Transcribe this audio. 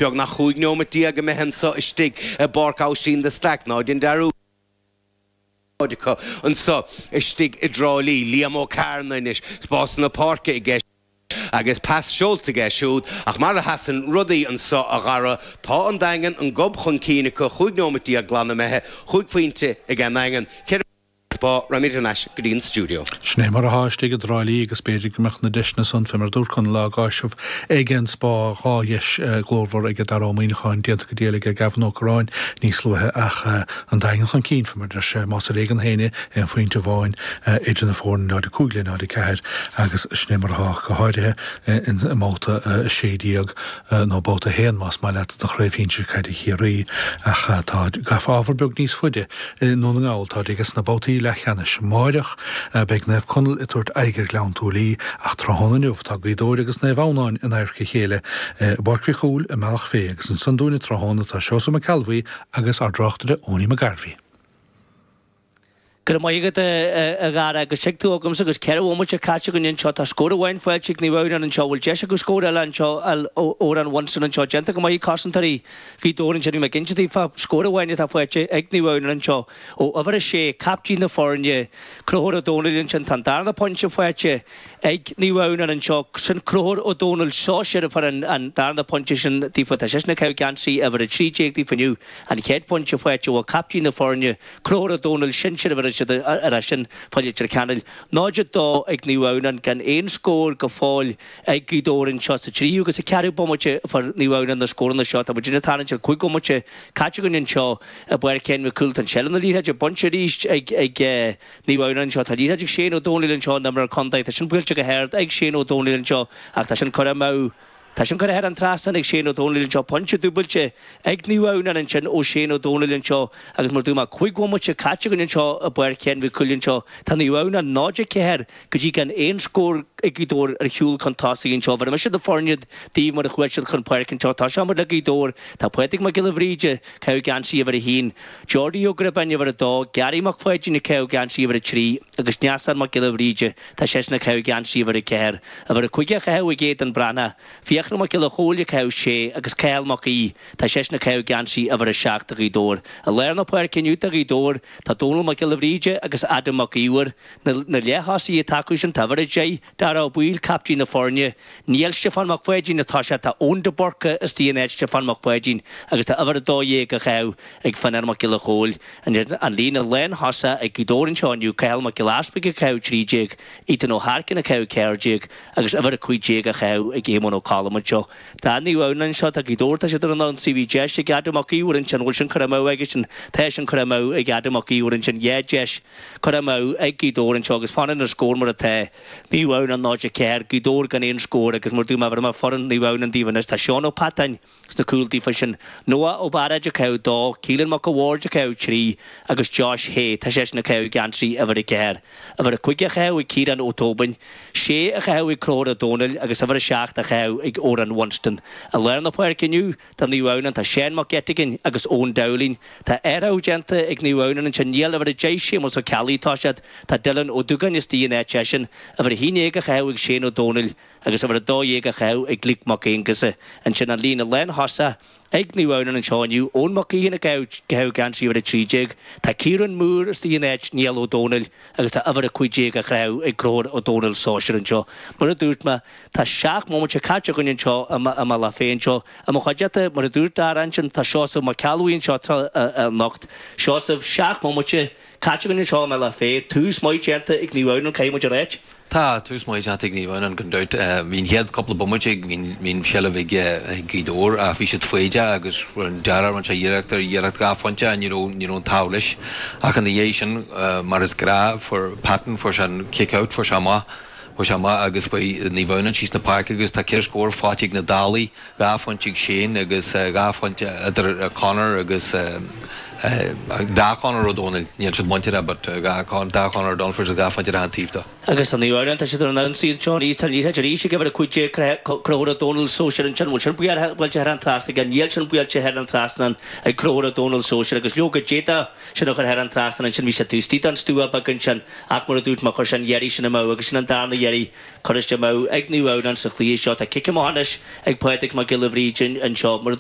Beagnach 15 neomat imithe anso istigh i bPáirc Oisín de Staic. Ná dein dearúd acu anso istigh i dTrá Lí. Liam Ó Cearna anois, spás na páirce aige agus pas seolta aige siúd ach mar a sheasann rudaí anso a Dhara, tá an Daingean an gob chun cinn acu, 15 neomat glan imithe, chúig phointe ag an nDaingean, 4 Spá, raghaimid thar n-ais go dtí an stiúideo. Sin é mar atá istigh i dTrá Lí agus b'fhéidir go mbeadh na deiseanna san, fé mar a dúirt Conall, á gcáiseamh ag an Spá. 2 dheis ghlórmhar ag Dara Ó Muíneacháin déanta go diail ag Gavin Ó Curráin níos luaithe ach an Daingean chun cinn fé mar a deir sé, más ar éigean féin é, aon phointe amháin idir na foirne, 0-5 le 0-4 agus sin é mar atá go háirithe i mbabhta 16 nó babhta 1 más maith leat de Chraobh Shinsir Caide Chiarraí ach tá ábhar beag níos faide i nDún na nGall. Táid aige sna babhtaí leathcheannais. Amáireach beidh Naomh Conaill ag tabhairt aghaidh ar Ghleann tSúilí ach tráthnóna inniu tá Gaoth Dobhair agus Naomh Adhamhnáin in adharca a chéile i bPáirc Mhic Cumhaill i mBealach Féich agus ansan dúinne tráthnóna tá Seosamh Mac Ceallbhuí agus ár dtráchtaire Owenie McGarvey. Go raibh maith agat, a Dhara, agus tig tú agamsa agus 4 bhomaite caite againn anseo. Tá scór amháin faighte ag Naomh Adhamhnáin anseo. Bhfuil deis acu scór eile anseo a fháil ó Odhrán Winston anseo? Déanta go maith ag cosantóirí Ghaoth Dobhair ansin. Bhí mé ag inse daoibh fá scór amháin atá faighte ag Naomh Adhamhnáin anseo ó uimhir a sé, captaen na foirne, Conchúr Ó Domhnaill ansin. Tá an darna pointe faighte ag Naomh Adhamhnáin anseo. Sin Conchúr Ó Domhnaill sóisir a fuair an darna pointe sin daofa. Tá seisean ag caitheamh geansaí uimhir 13 daofa inniu. An chéad phointe faighte ó captaen na foirne, Conchúr Ó Domhnaill, sinsir a bheir siad ar é sin fá Leitir Ceanainn. 0-2 ag Naomh Adhamhnáin gan aon scór go fóill ag Gaoth Dobhair anseo sa tríú agus sa cheathrú bomaite a fuair Naomh Adhamhnáin na scóranna seo. Tá muid ag tarraingt ar 5 bhomaite caite againn anseo i bPáirc Shéain Mhic Cumhaill. Tá an seilbh na liathróide bainte arís ag Naomh Adhamhnáin anseo. Tá liathróid ag Shane Ó Domhnaill anseo, an imreoir contae. Tá sin buailte go hard ag Shane Ó Domhnaill anseo ach tá sin curtha amú. Tá sin curtha thar an trasnán ag Shane Ó Domhnaill anseo. Pointe dúbailte ag Naomh Adhamhnáin ansin ó Shane Ó Domhnaill anseo agus mar a dúirt mé, 5 bhomaite caite againn anseo i bPáirc Shéain Mhic Cumhaill anseo. Tá Naomh Adhamhnáin 0-4 go dtí gan aon scór ag Gaoth Dobhair ar shiúl chun tosaigh anseo. Bheir mise na foirne daoibh mar a chuaigh siad chun páirce anseo. Tosóidh muid le Gaoth Dobhair. Tá Pádraig Mac Giolla Bhríde ag caitheamh geansaí uimhir a haon, Geordie Ó Gribáin uimhir a dó, Gary Mac Pháidín ag caitheamh geansaí uimhir a trí agus Neasán Mac Giolla Bhríde Tá seisean ag caitheamh geansaí uimhir 4. Uimhir 5 á chaitheamh ag Aidan Breathnach. Fiachra Mac Giolla Chóill ag caitheamh 6 agus Cathal Mac Aoidh, tá seisean ag caitheamh geansaí uimhir 7 do Ghaoth Dobhair. I lár na páirce inniu do Ghaoth Dobhair, tá Dónal Mac Giolla Bhríde agus Adam Mac Íomhair. Na leath-thosaithe atá acu sin, tá uimhir 10, Dara Ó Baoill, captaen na foirne. Níl Stiofán Mac Pháidín ag toiseacht, tá Eoin de Búrca istigh in áit Stiofán Mac Pháidín agus tá uimhir 12 á chaitheamh ag Fionán Mac Giolla Chóill. An líne lánthosach ag Gaoth Dobhair anseo inniu, Cathal Mac Giolla Easpaig ag caitheamh 13, Ethan Ó hEarcáin ag caitheamh 14 agus uimhir 15 á chaitheamh ag Éamonn Ó Colm anseo. Do Naomh Adhamhnáin anseo, tá Gaoth Dobhair, tá siad ar an ionsaí, bhí deis ag Adam Mac Íomhair ansin, bhfuil sin curtha amú aigesean, tá sin curtha amú ag Adam Mac Íomhair ansin, 2 deis curtha amú ag Gaoth Dobhair anseo agus fanann an scór mar atá, Naomh Adhamhnáin 0-4, Gaoth Dobhair gan aon scór agus mar a dúirt mé, bheir mé foireann Naomh Adhamhnáin daoibh anois, tá Seán Ó Peatáin, Sna cúil daofa sin, Noah Ó Bairéid ag caitheamh 2, Keelan Mac a' Bhaird ag caitheamh 3 agus Josh Hay, tá seisean ag caitheamh geansaí uimhir 4. Uimhir 5 á chaitheamh ag Ciarán Ó Tóibin, 6 á chaitheamh ag Conchúr Ó Domhnaill agus uimhir 7 á chaitheamh ag Odhrán Winston. I lár na páirce inniu do Naomh Adhamhnáin tá Seán Mac Eiteagáin agus Eoin Dowling. Tá athrú déanta ag Naomh Adhamhnáin ansin, níl uimhir 10 Séamus Ó Ceallaigh ag toiseacht, tá Dylan Ó Dúgáin istigh in áit eisean, uimhir 11 á chaitheamh ag Shane Ó Domhnaill. agus uimhir 12 á chaitheamh ag Luke Mac Aonghusa. Ansin an líne lánthosach ag Naomh Adhamhnáin anseo inniu, Eoin Mac Aodha ag caitheamh geansaí uimhir 13, tá Ciarán Moore istigh in áit Niall Ó Dónaill agus tá uimhir 15 á chaitheamh ag Conchúr Ó Dónaill sóisir anseo. Mar a dúirt mé, tá 7 mbomaite caite againn anseo i mBealach Féich anseo. I mo chuideachta, mar a dúirt Dara ansin, tá Seosamh Mac Ceallbhuí anseo anocht. Seosamh, 7 mbomaite caite againn anseo i mBealach Féich. Tús maith déanta ag Naomh Adhamhnáin, caithfidh muid a ráit. Tá tús maith déanta ag Naomh Adhamhnáin gan dabht. Bhí an chéad cúpla bomaite bhí an tseilbh ag Gaoth Dobhair ach bhí siad foighdeach agus rinne Dara rinne sé iarracht ar iarracht 2 phointe ach ní raibh ní raibh an t-ádh leis. Ach ina dhiaidh sin mar is gnáth fuair Patton fuair sé an kick out fuair sé amach fuair sé amach agus chuaigh Naomh Adhamhnáin síos na páirce agus tá 4 scór faighte ag na Dálaigh, 2 phointe ag Shane agus 2 phointe idir Conor agus dá Chonor Ó Dónaill, níl siad muinteartha but dá Chonor Ó Dónaill fuair siad 2 phointe ar achan taobh dó. Agus tá Naomh Adhamhnáin, tá siad ar an ionsaí anseo arís, tá an liathróid arís ag uimhir 15, Conchúr Ó Dónaill sóisir ansin, bhfuil sin buailte thar an trasnán aige? Níl sin buailte thar an trasnán ag Conchúr Ó Dónaill sóisir agus leoga d'fhéadfadh sin a chur thar an trasnán ansin, bhí sé taobh istigh den stua beag ansin ach mar a dúirt mé chuir sé an iarraidh sin amú agus sin an darna iarraidh curtha amú ag Naomh Adhamhnáin sa chluiche seo. Tá cic amach anois ag Pádraig Mac Giolla Bhríde anseo. Mar a.